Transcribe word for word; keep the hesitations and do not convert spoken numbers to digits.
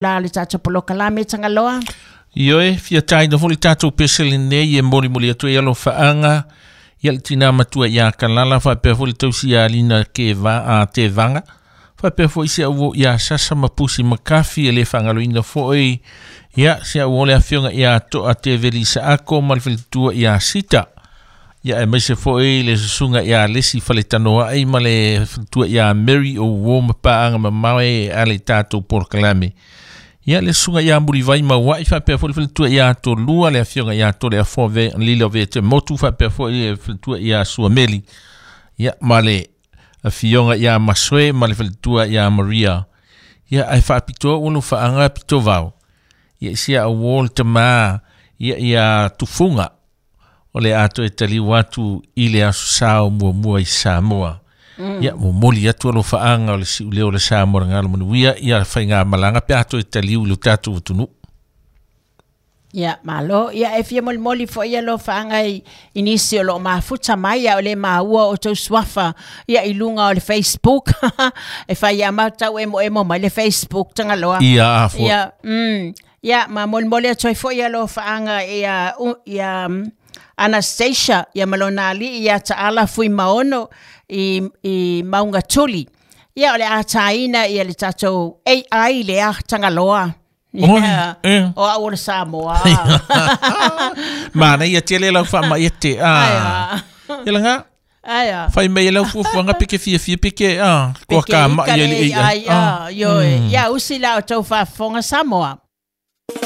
La le tatou polokalame Tagaloa. Ioe, fia tāina foi le tatou pese lenei e molimoli atu ai alofaaga ia le tinā matua iā Kalala faapea foi le tausi ia Lina Keva a Tevaga faapea foi si au iā Sasa ma Pusi Makafi e le faagaloina foi ia si au o le afioga iā Toa Teveli Saako ma le faletua iā Sita ia aemaise foi le susuga iā Lesi Faletanoaʻi ma le faletua iā Mary o uō ma paaga mamao e a le tatou polokalame ia le susuga iā Mulivai Mauaʻi faapea foi le faletua iā Tolua le afioga iā Toleafoa ve Lilo Vete Motu faapea foi le faletua iā Suameli ia ma le afioga iā Masoe ma le faletua iā Maria ia ae faapitoa ua lofaaga pitovao ia i sia auō le tamā ia ia Tufuga o le a toe taliu atu i le aso sa o muamua i Samoa. Mm. Ia, momoli atu alofaaga o le siuleo o le Samoa le galo manuia ia faigamalaga pe a toe taliu i lo tatou atunuu. Ia, malo. Ia, e fia molimoli foi alofaaga i, i nisi o loo mafuta mai, a o le maua o tou suafa, ia, i luga o le Facebook. E fai ia matau emo emo mai le Facebook Tagaloa. Ia, a foi. Ia, mm, ia, ma molimoli atu ai foi alofaaga ia, u, ia, Anastasia, ia ma lona alii ia Taala Fuimaono i, i Maungatuli. Ia, o le a tāina ia le tatou A I lea Tagaloa. Oi, Ia, eh. o au o le Samoa. Manaia tele lau faamaite. Ai Ah. a. Ia laga, Ai a. fai mai e lau fuafuaga pe ke fiafia pe ke ah, koa Peke ka mai ika e le le A I, A I. a, ioe. Ia, usi la o tau faafofoga Samoa.